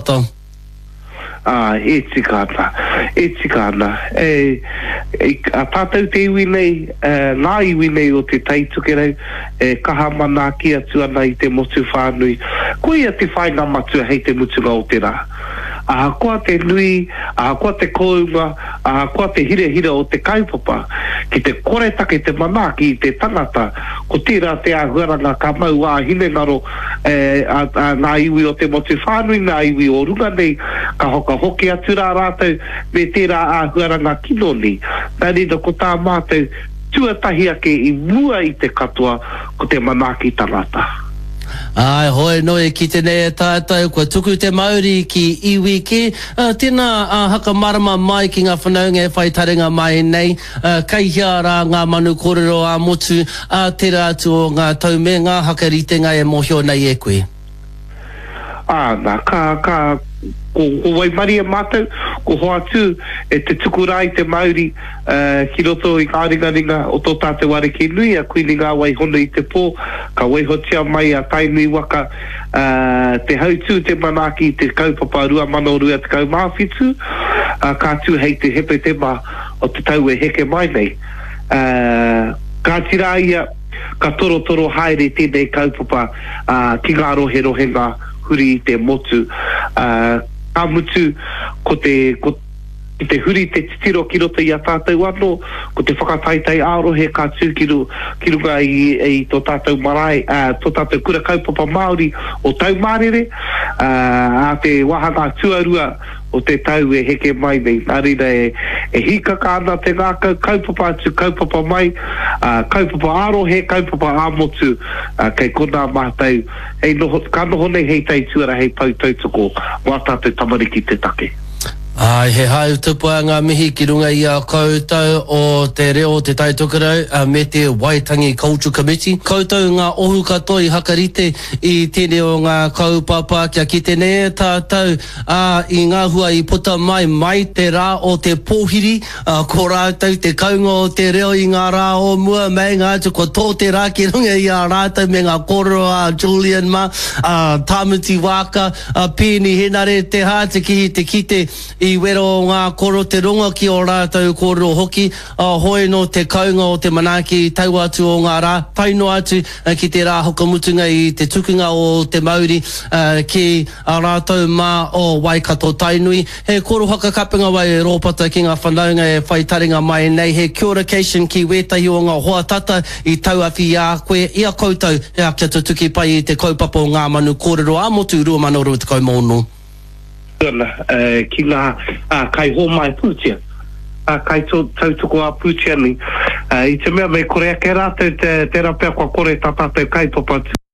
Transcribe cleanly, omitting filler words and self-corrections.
Rōpata. Ā, e tika ana, e tika ana. E, e, a tātou te iwi nei, e, ngā iwi nei o Te Tai Tokerau, e kaha manaaki atu ana i te motu whānui. Koia te whāinga matua hei te mutunga o te rā. Ahakoa te nui, ahakoa te kōunga, ahakoa te hirahira o te kaupapa, ki te koretake te manaaki i te tangata, ko tērā te āhuaranga ka mau ā-hinengaro e, a, a ngā iwi o te motu whānui, ngā iwi o runga nei, ka whakahoki atu rā rātou me tērā āhuaranga kino nei. Nā reira, ko tā mātou tuatahi ake i mua i te katoa, ko te manaaki tangata. Āe, hoi nō e kite nei e tātou, kua tuku te mauri ki iwi kē. Tēnā, whakamārama mai ki ngā whanaunga e whai taringa mai nei, Kei hea rā ngā manu kōrero ā-motu, ā tērā atu o ngā tau me ngā hakaritenga e mōhio nei e koe? Āna, ka, ka, ko, ko waimarie mātou, ko hoatu e te tuku rā i te mauri, ā, ki roto i ngā ringaringa o tō tātou Ariki nui, a Kuini Ngāwai Hono i te Pō, ka waihotia mai a Tainui waka, ā, te hautū, te manaaki i te kaupapa 2027, ā, ka tū hei te Hepetema o te tau e heke mai nei. Ā, kāti rā ia, ka torotoro haere tēnei kaupapa, ā, ki ngā roherohenga huri i te motu. Ā, ka mutu, ko te, ko, ki te huri te titiro ki roto i a tātou anō, ko te whakataetae ā-rohe ka tū ki ru, ki runga i, i tō tātou marae, ā, tō tātou kura kaupapa Māori o Taumārere, ā, ā te wāhanga tuarua o te tau e heke mai nei. Nā reira e, e hīkaka ana te ngākau, kaupapa atu, kaupapa mai, ā, kaupapa ā-rohe, kaupapa ā-motu, ā, kei konā mātou, hei noho, ka noho nei hei taituara, hei pou tautoko mō ā tātou tamariki te take. Āe, he hau tupua ngā mihi ki runga i a koutou o Te Reo o Te Tai Tokerau me te Waitangi Cultural Committee. Koutou ngā ohu katoa i hakarite i tēnei o ngā kaupapa kia kite nei e tātou Ā, i ngā hua i puta mai, mai te rā o te pōhiri, ā, ko rātou te kounga o te reo i ngā rā o mua, meinga atu kua tō te rā ki runga i a rātou me ngā kōrero a Julian mā, a Tāmati Waaka, a Peeni Henare, Te Hātikihi te kite i wero o ngā kōrero, te rongo ki ō rātou kōrero hoki, ā, hoi nō te kounga o te manaaki i taua atu o ngā rā, tae noa atu ki te rā whakamutunga i te tukunga o te mauri ki a rātou mā o Waikato Tainui. He korohaka kapenga wai e Rōpata ki ngā whanaunga e whai taringa mai nei, he kia ora-cation ki wētahi o ngā hoa tata i tauawhi i a koe, i a koutou, ea kia tutuki pai i te kaupapa o Ngā Manu Kōrero ā-Motu 2026. Ana ki ngā kaihōmai pūtea, kaitautoko ā-pūtea nei, i te mea me kore ake rātou, tērā pea kua kore tā tātou kaupapa.